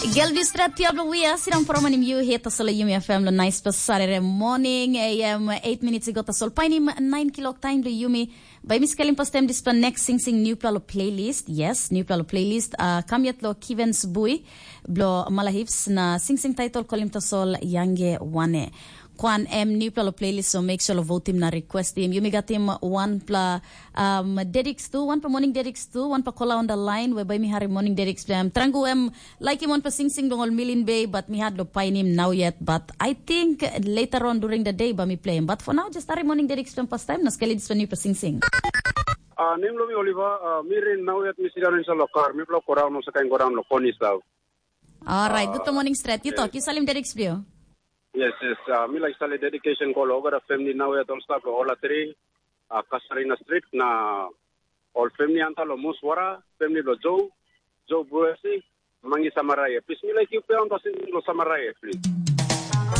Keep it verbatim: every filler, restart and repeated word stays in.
Gel Distrat tiap lo wia, sidang promanim yu heta solo yumi F M lo nice pa Saturday morning, A M eight minutes i gota sol painim nine kilok time lo yumi. Bai mi skelim pastem dispa next sing sing new pla lo playlist. Yes, new pla lo playlist. Uh, kam yet lo Kivens Bui, blo Malahips na sing sing title kolim ta sol Yange Wane. Kwan em new pla lo playlist, so make sure lo votim na requestim. Yumi gatim one pla um, dedics tu, one pa morning dedics tu, one pa kola on the line, we bai mi hari morning dedics pla. Trangu em like him one pa sing sing dong ol Milin Bay, but mi had lo painim now yet. But I think later on during the day ba mi play him. But for now, just hari morning dedics pla pas time na skeli dispa new pa sing sing. Uh, nem lo mi Oliver, uh, mi rin now yet mi sidan inside lo car, mi blo go down, no sakain go down lo koni sau. Alright, good morning straight. You talk, you salim dedics pla. Yes, yes. Uh, mi like sali dedication ko lo ogara family now yet all staff lo ola three, uh, Kasarina Street na all family anta lo Muswara, family lo Joe, Joe Bruesi, Mangi Samaraye. Please, mi like you pay on passing lo Samaraye, please.